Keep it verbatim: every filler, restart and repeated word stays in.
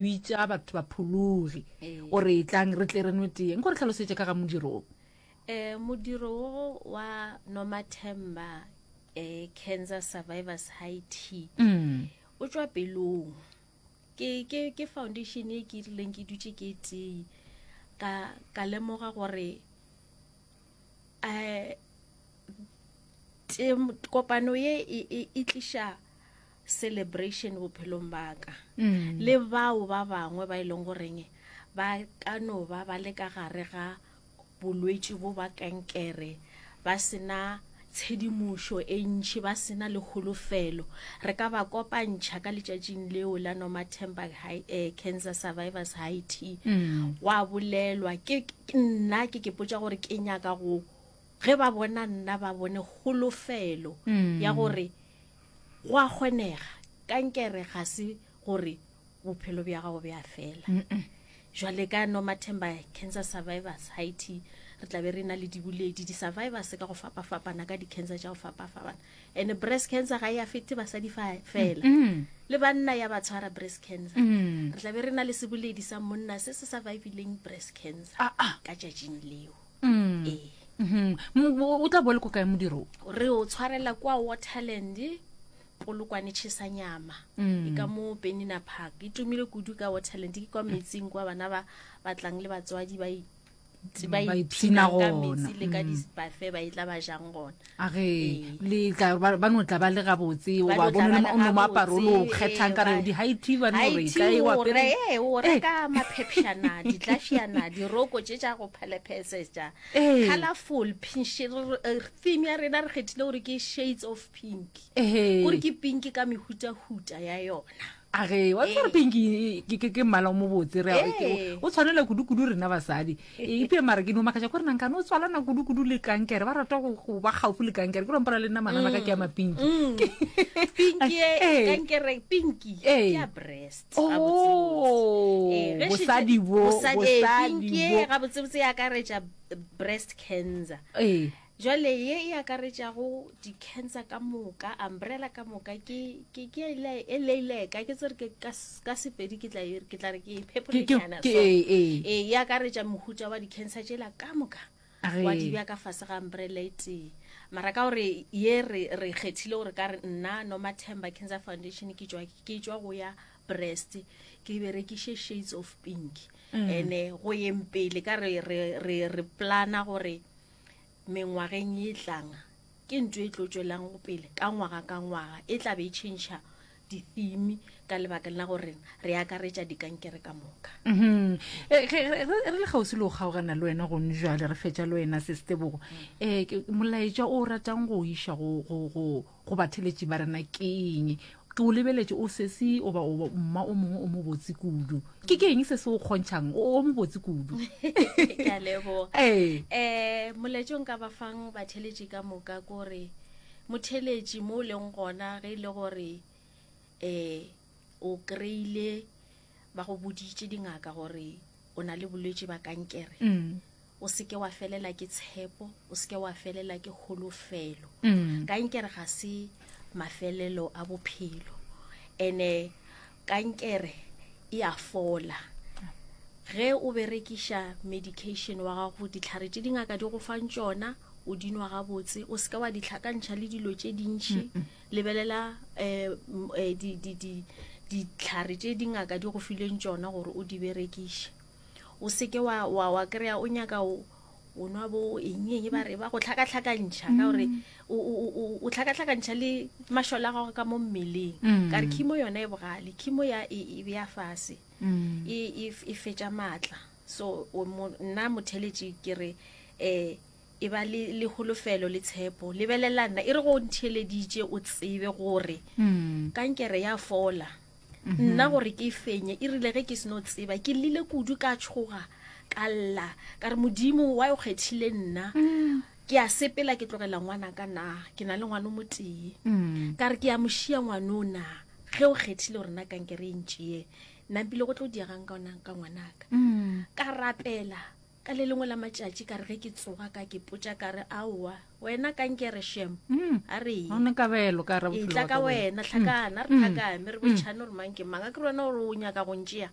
Bitša batho ba phologi Ee. O re etlang re tle re nwe tee. Nko re hlalosetše ka ga modiro wo. Eh, modiro wo wa Nomathemba eh, Cancer Survivors High Tea Mm. o tšwa pelong. Ke, ke, ke foundation e ke rileng ke dutše ke tee ka, ka lemoga gore eh, tem, kopano ye e, e, e tliša celebration bophelong ba ka Mm. le bao ba bangwe ba e leng goreng ba ka no ba ba le ka gare ga bolwetši bo ba kankere, ba sena tshedimošo e ntši, ba sena le kholofelo. Re ka ba kopantšha ka letšatšing leo la Nomathemba High, eh, Cancer Survivors High Tea. Mm. Gwa bolelwa ke, ke nna ke ke potša gore ke nyaka go ge ba bona nna ba bone kholofelo Mm. ya gore go a kgonega. Kankere ga se gore bophelo bja gago bja fela. Mm-mm. Jwale ka Nomathemba Cancer Survivors High Tea re tla be re na le diboledi, di-survivors ka go fapafapana ka di-cancer tša go fapafapana. And breast cancer ga e affecte basadi fa fela, Mm. le banna ya ba tshwara breast cancer. Mm. Re tla be re na le seboledi sa monna se se survivileng breast cancer Ah, ah. ka tšatšing leo. Mm. Ee. Mhm. Mo- o tla bo le ko kae modiro wo? Re o tshwarela kwa Waterland, Polokwane Tšhesanyama. Mm. E ka mo Penina Park. E tumile kudu ka Waterland, ke kwa metsing kwa bana ba ba tlang le batswadi ba i- ba Ba ipshina ipshinang ka gona. metsi le ka Mm. di-buffet ba e tla ba jang gona. A ge Ee. le tla ba ba no tla ba le gabotse, Ba o ba no tla bone ba le le o no moaparo o lo gabotse, kgethang ee, ka re ba- di high tea ba no High re tea kae wa o apere. re, ee, o Ee. reka maphepšana, ditlafiana, diroko tše tša go phalephesetša. Ee. Colorful pink, eh, theme ya rena re kgethile gore ke shades of pink. Ehe. Gore ke pink ka mehutahuta ya yona. A ge wa tseba gore Ee. pink ke ke ke mmala o mobotse re Ee. ke- o tshwanela kudu-kudu rena basadi. E iphe mara ke no makatša gore nankane o tswalana kudu-kudu le kankere, ba rata go go ba gaufi le kankere. Ke rompana le nna manana ka ke ya mapinki. Mm. Pinki e Ee. kankere pinki Ee. ke ya breast Oh, gabotsebotse. Ee, ge šetše- bosadi bo, bosadi, ee, bosadi pinki e bo. gabotsebotse e akaretša breast cancer. Ee. Jwale ye e akaretšago di-cancer ka moka, umbrella ka moka, ke, ke, ke e le, e leileka, ke tsere ke ka s-, ka Sepedi ke tla e, ke tla re ke e Ke, ke, phepholenyana ke, so. ee, ee. Ee, e akaretša mohuta wa di-cancer tšela ka moka. A ge. Wa di bea ka fase ga umbrella e tee. Mara ka gore ye re, re kgethile gore ka re nna Nomathemba Cancer Foundation ke tšwa, ke tšwa go ya breast, ke berekiše shades of pink. Mm. Ene go yeng pele ka re, re, re, re plana gore mengwageng e tlang ke ntho e tlo tšwelang go pele ka ngwaga ka ngwaga, e tla be e change di-theme ka lebaka la gore re akaretša dikankere ka moka. Mhm. Eh, ge, re, re, re le kgauswi le go kgaogana le wena gone jwale, re fetša le wena Sestebogo. Eh, ke, molaetša o ratang go iša go, go, go, go batheletši ba rena ke eng? Ke o lebeletše o sesi o ba o mma o mongwe o mobotse kudu. Ke ke eng se se o kgontšhang o, o mobotse kudu? Ke a leboga. Ee. Eh, molaetša o nka ba fang batheletši ka moka ke gore motheletši mo o leng gona ge e le gore, eh, o kry-ile ba go boditše dingaka gore o na le bolwetši ba kankere. Mm. O seke wa felela ke tshepo, o seke wa felela ke kholofelo. Mm. Kankere ga se mafelelo a bophelo. Ene kankere e a fola. Ge o berekiša medication wa gago, ditlhare tše dingaka di go fang tšona, o di nwa gabotse, o seke wa di hlakantšha le dilo tše dintši. Mm-mm. Lebelela, eh, m-, eh, di, di, di, ditlhare tše dingaka di go fileng tšona gore o di berekiše. O seke wa, wa, wa kry-a o nyaka o, o nwa bo eng eng ba re ba go hlakahlakantšha ka gore Mm. o, o, o, o, o hlakahlakantšha le mašole a gago ka mo mmeleng. Mm. Ka re chemo yona e bogale, chemo ya e, e bea fase. Mm. E, e, e fetša maatla. So, o mo, nna motheletši ke re, eh, e ba le, le kholofelo le tshepo. Lebelela nna, e re go ntheeleditše o tsebe gore Mm. kankere ya fola. Mm-hmm. Nna gore ke e fenye, e rile ge ke seno tseba, ke llile kudu ka tshoga, ka lla, ka re Modimo wa o kgethile nna. Mm. Ke a sepela ke tlogela ngwana ka na, ke na le ngwana o motee. Mm. Ka re ke a mo šia ngwana o na, ge o kgethile gore nna kankere e ntšee, nna mpile go tlo diegang ka ona, ka ngwanaka. Mm. Ka rapela, Ka le lengwe la matšatši ka re ge ke tsoga ka ke potša ka re aowa wena kankere shem Mm. a re ye. Ga ona kabelo ka gare e bophelo tla bwa ka ka wena. wena hlakana re hlakame re botšhane gore mang ke mang a ke re wena gore o nyaka go ntšea.